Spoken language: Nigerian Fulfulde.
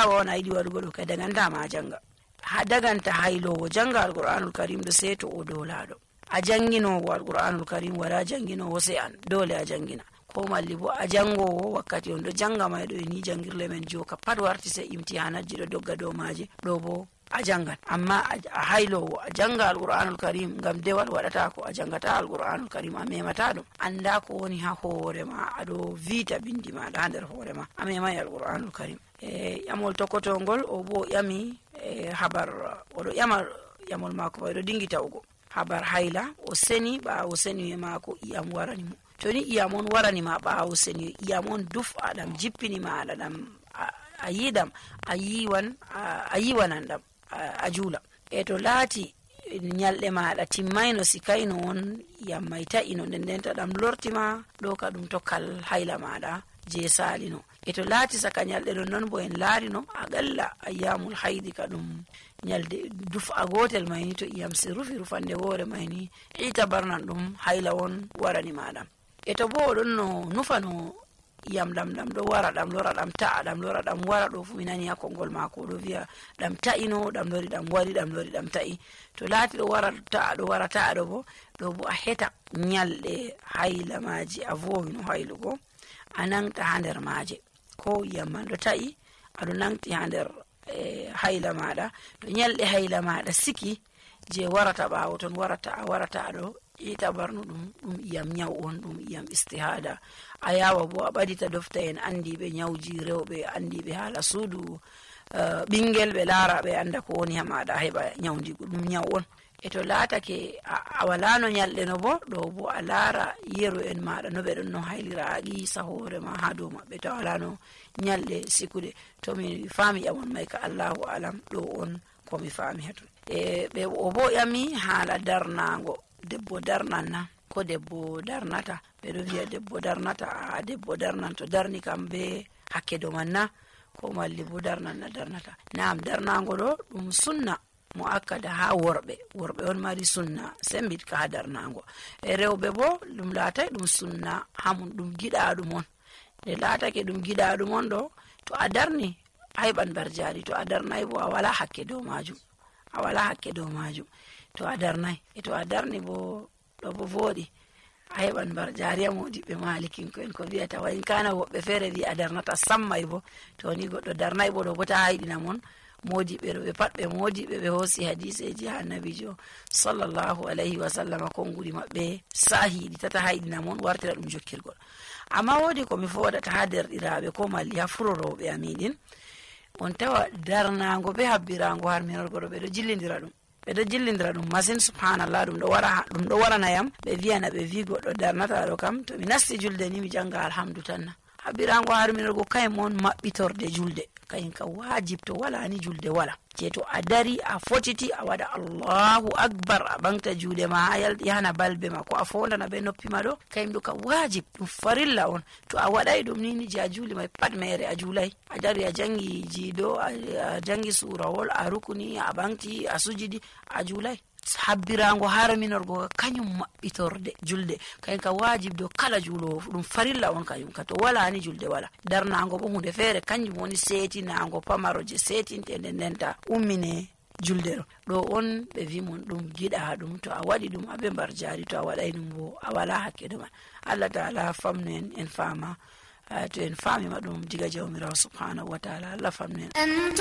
da'awa on a yiɗi waɗugo ɗo kay dagantama a janga. Ha daganta haylowo janga alqur'anul karim ɗo sei to o dolaɗo. A janginowo alqur'anul karim wala janginowo sai an, dole a jangina. Ko malli bo a jangowo wakkati on ɗo janga may ɗo ni jangirle men joka pat warti sai imtihanajji ɗo dogga dow maje, ɗo bo a jangan. Amma a haylowo a janga alqur'anul karim ngam dewal waɗata ko a jangata alqur'anul karim, a memata ɗum, anda ko woni ha hoore ma, aɗo vita bindi maɗa ha nder hoore ma, a memai alqur'anul karim. Ƴamol tokkotongol o bo ƴami habar, oɗo ƴama ƴamol mako ɗo dingi tawugo habar hayla. O seni ɓawo seni mako iyam warani mo. To ni iyam on warani ma ɓawo seni, iyam on duf'a ɗam jippini maɗa ɗam a yiɗam a yiwanan ɗam a juula. To laati nyalɗe maɗa timmayno sikayno on iyam may ta'ino nden ndenta ɗam lortima ɗo ka ɗum tokkal hayla maɗa je salino. To laati saka nyalɗe ɗon non bo en laarino aƙalla ayyamul haydi ka ɗum nyalde duf'a gotel mayni to iyam si rufi rufande woore mayni ita barnan ɗum hayla won warani maɗam. To bo oɗon no nufano iyam ɗam ɗo wara, ɗam lora ɗam ta'a, ɗam lora ɗam wara, ɗo fu mi nani ha konngol mako ɗo wiya ɗam ta'ino, ɗam lori ɗam wari, ɗam lori ɗam ta'i. To laati ɗo wara ta'a, ɗo wara ta'a ɗo bo a heta nyalɗe hayla maji a vowino haylugo, a nangta ha nder maje, ko iyam man ɗo ta'i aɗo nangti ha nder hayla maɗa. To nyalɗe hayla maɗa siki je warata ɓawo ton warata ɗo ita barnu ɗum iyam nyaw on, ɗum iyam istihada. A yawa bo a ɓadita dofta en andiɓe nyawji rewɓe, andiɓe haala suudu ɓingel, ɓe laara ɓe anda ko woni ha maɗa heɓa nyawdigu, ɗum nyaw on. To laatake a walano nyalɗe no bo ɗo bo a laara yeru en maɗa no ɓe ɗon no haylira, a qisa hoore ma ha dow maɓɓe to walano nyalɗe sikude. To mi faami ƴamon may ka Allahu alam, ɗo on komi faami hatun. Ɓe o bo ƴami haala darnago, debbo darnan na ko debbo darnata. Ɓeɗo wiya debbo darnata, debbo darnan to darni kam be hakke do man na, ko malli bo darnan na darnata. Naam, darnago ɗo ɗum sunna mo akkada ha worɓe on mari sunna sembitka ha darnago. Rewɓe bo ɗum laatay ɗum sunna hamum, ɗum giɗaɗum on. Nde laatake ɗum giɗaɗum on ɗo, to a darni a heɓan barjari, to a darnay bo a wala hakke dow majum, to a darnay. To a darni bo ɗo bo voɗi, a heɓan barjari. A modiɓɓe malikinko en ko wiyata wa in kana, woɓɓe feere wi a darnata sammay bo, to ni goɗɗo darnay bo ɗo bo ta hayɗina mon. Modiɓɓe ɗo ɓe pat ɓe modiɓɓe, ɓe hoosi hadiseji ha annabijo sallallahu alayhi wa sallam, konngudi maɓɓe sahiɗi tata hayɗina mon, wartira ɗum jokkirgol. Amma woodi ko mi foodata ha derɗiraɓe ko malli ha furorowɓe amiɗin, on tawa darnago be habbirango har minorgo ɗo ɓeɗo jillindira ɗum masin. Subhanallah, ɗum ɗo warana yam ɓe wiyana ɓe wi goɗɗo darnata ɗo kam, to mi nasti julde ni mi janga alhamdu tanna. Habbirango har minorgo kayum on maɓɓitorde julde, kayen ka wajib to wala ni julde wala. Je to a dari a fotiti a waɗa Allahu akbar, a ɓangta juuɗe ma ha yahana balbe ma, ko a fondana be noppi ma ɗo, kayum ɗo ka wajib, ɗum farilla on. To a waɗay ɗum ni je a juuli may pat mere a juulay. A dari a jangi jiiɗo, a jangi surawol, a rukuni, a ɓangti, a sujidi, a juulay. Habbirango har minorgo kañum maɓɓitorde julde, kayen ka wajib do kala juulowo, ɗum farilla on kañum ka. To wala ni julde wala. Darnago bo hunde feere, kanjum woni setinago pamaro je setinte nden ndenta ummine julde ɗo on ɓe wi mon ɗum giɗa ɗum. To a waɗi ɗum aɓe mbar jari, to a waɗay ɗum bo a wala hakke ɗo man. Allah ta'ala famnu en fama, to en famima ɗum diga jawmirawo subhanahu wa ta'ala, Allah famnu en.